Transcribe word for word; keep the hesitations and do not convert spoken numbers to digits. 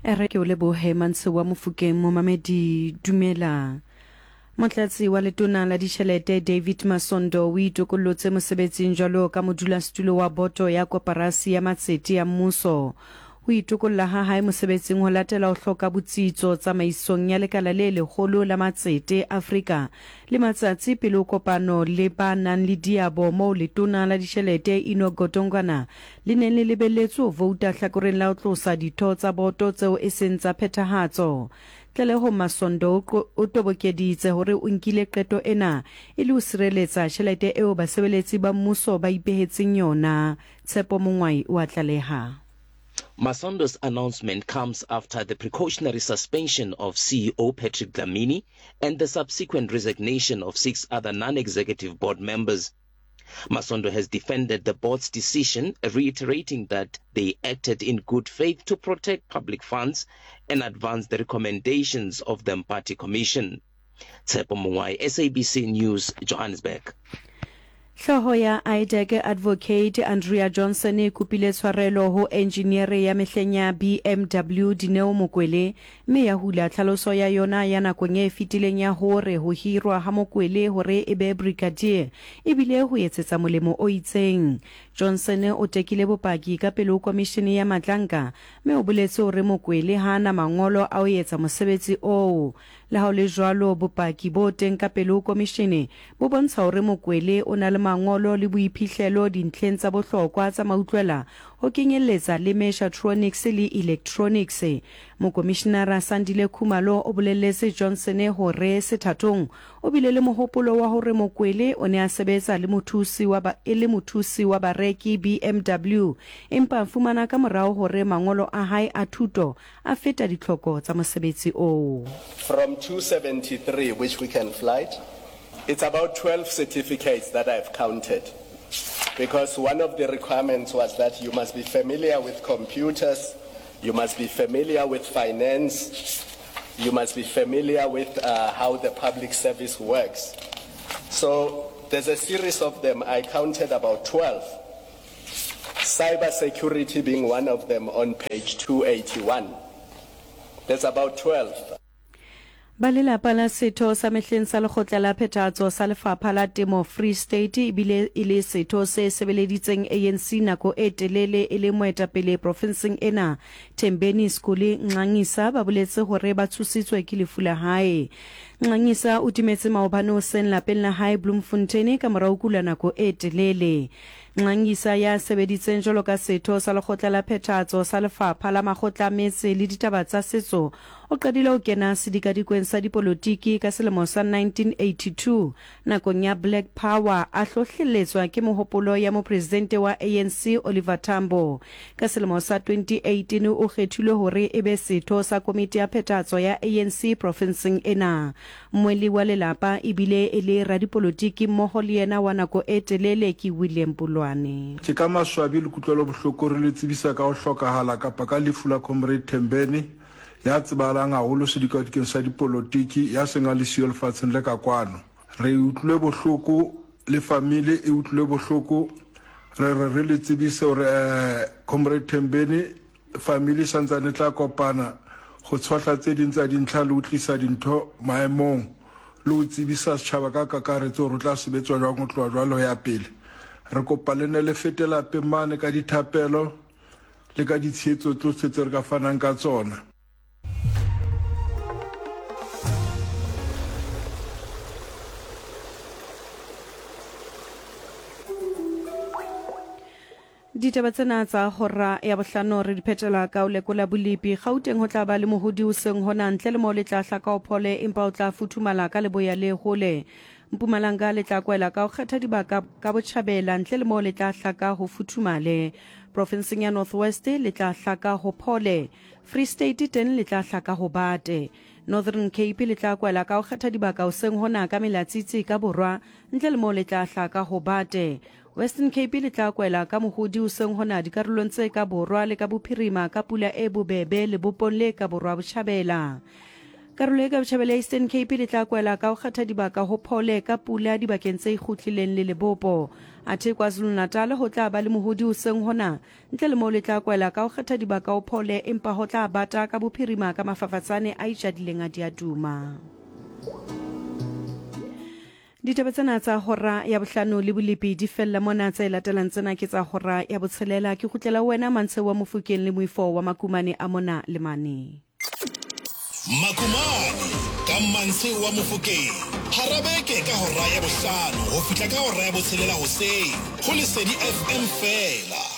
Re ke o lebohe Mantshe wa Mofokeng momamedi dumela. Motlatsi wa letona la ditjhelete David Masondo o itokollotse mosebetsing jwalo ka modulasetulo wa boto ya koporasi ya matsete ya mmuso. Ho itokolla ha hae mosebetsing ho latela ho hloka botsitso tsamaisong ya lekala le leholo la matsete Afrika le matsatsi pele ho kopano le ba nang le diabo moo letona la ditjhelete Enoch Godongwana le neng le lebelletswe ho vouta hlakoreng la ho tlosa ditho tsa boto tseo e seng tsa phethahatso. Tlaleho Masondo o tobokeditse hore o nkile qeto ena e le ho sireletsa tjhelete eo basebeletsi ba mmuso ba ipehetseng yona. Tshepo Mongwai o a tlaleha. Masondo's announcement comes after the precautionary suspension of C E O Patrick Dlamini and the subsequent resignation of six other non-executive board members. Masondo has defended the board's decision, reiterating that they acted in good faith to protect public funds and advance the recommendations of the Mpati Commission. Tshepo Mongwai, S A B C News, Johannesburg. Hlooho ya I D E C Advocate Andrea Johnson e kopile tshwarelo ho engineer ya mehleng ya B M W Dineo Mokwele mme ya hula tlhaloso ya yona ya nakong e fetileng ya hore ho hirwa ha Mokwele hore e be brigadier ebile ho etsetsa molemo o itseng. Johnson o tekile bopaki ka pele ho komishene ya Matlanka mme o boletse hore Mokwele ha ana mangolo a ho etsa mosebetsi oo. Le ha ho le jwalo, bopaki bo teng ka pele ho komishene bo bontsha hore Mokwele o na le mangolo le boiphihlelo dintlheng tsa bohlokwa tsa mautlwela ho kenyelletsa le mechatronics le electronics. Mokomishinara Sandile Khumalo o bolelletse Johnson hore sethathong o bile le mohopolo wa hore Mokwele o ne a sebetsa le mothusi wa ba, e le mothusi wa bareki B M W, empa a fumana ka morao hore mangolo a hae a thuto a feta ditlhoko tsa mosebetsi oo. From two seventy-three, which we can flight, it's about twelve certificates that I've counted, because one of the requirements was that you must be familiar with computers, you must be familiar with finance, you must be familiar with, uh, how the public service works. So there's a series of them. I counted about twelve. Cyber security being one of them on page two eighty-one. There's about twelve. Ba lelapa la setho sa mehleng sa lekgotla la phethahatso sa lefapha la temo Free State ebile e le setho se sebeleditseng A N C nako e telele e le moetapele profinseng ena Thembeni Skuli Nxangisa ba boletse hore ba tshositswe ke lefu la hae. Nxangisa o timetse maobane hoseng lapeng la hae Bloemfontein ka mora ho kula nako e telele. Nxangisa ya sebeditseng jwalo ka setho sa lekgotla la phethahatso sa lefapha la makgotla a metse le ditaba tsa setso o qadile ho kena sedikadikweng sa dipolotiki ka selemo sa nineteen eighty-two nakong ya Black Power a hlohlelletswa ke mohopolo ya mopresidente wa A N C Oliver Tambo. Ka selemo sa twenty eighteen o kgethilwe hore e be setho sa komiti ya phethahatso ya A N C profinseng ena. Mmweli wa lelapa ebile e le radipolotiki mmoho le yena wa nako e telele ke William Pulwane. Ke ka maswabi le kutlwelo bohloko re le tsebisa ka ho hlokahala kapa ka lefu la Comrade Thembeni ya tsebahalang haholo sedikadikeng sa dipolotiki ya seng a le siyo lefatsheng le ka kwano. Re utlwile bohloko le family e utlwile bohloko, re re re le tsebise hore, eh, Comrade Thembeni family santsane tla kopana ho tshohla tse ding tsa dintlha le ho tlisa dintho maemong le ho tsebisa setjhaba ka kakaretso hore o tla sebetswa jwang ho tloha jwale ho ya pele. Re kopa le ne le fete lapeng mane ka dithapelo le ka ditshehetso tsohle tse re ka fanang ka tsona. Ditaba tsena tsa hora ya bohlano re di phetela ka ho lekola bolepi. Gauteng ho tla ba le mohodi hoseng hona ntle le moo le tla hlaka ho phole empa o tla futhumala ka leboya le hole. Mpumalanga le tla kwela ka ho kgetha dibaka ka botjhabela ntle le moo le tla hlaka ho futhumale. Profinseng ya North West le tla hlaka ho phole. Free State teng le tla hlaka ho bate. Northern Cape le tla kwela ka ho kgetha dibaka hoseng hona ka melatsitsi ka borwa ntle le moo le tla hlaka ho bate. Western Cape le tla kwela ka mohodi hoseng hona dikarolong tse ka borwa le ka bophirima ka pula e bobebe lebopong le ka borwa botjhabela. Karolo e ka botjhabela ya Eastern Cape le tla kwela ka ho kgetha dibaka ho phole ka pula dibakeng tse ikgutlileng le lebopo. Athe KwaZulu-Natal ho tla ba le mohodi hoseng hona, ntle le moo le tla kwela ka ho kgetha dibaka ho phole empa ho tla bata ka bophirima ka mafafatsane a itjadileng a diaduma. Ditaba tsena tsa hora ya bohlano le bolepi di fella mona, tse latelang tsena ke tsa hora ya botshelela. Ke kgutlela ho wena Mantsheo wa Mofokeng le Moifo wa Makumane a mona le mane. Makumane ka Mantsheo wa Mofokeng hara beke ka hora ya bohlano ho fihla ka hora ya botshelela hoseng ho Lesedi F M feela.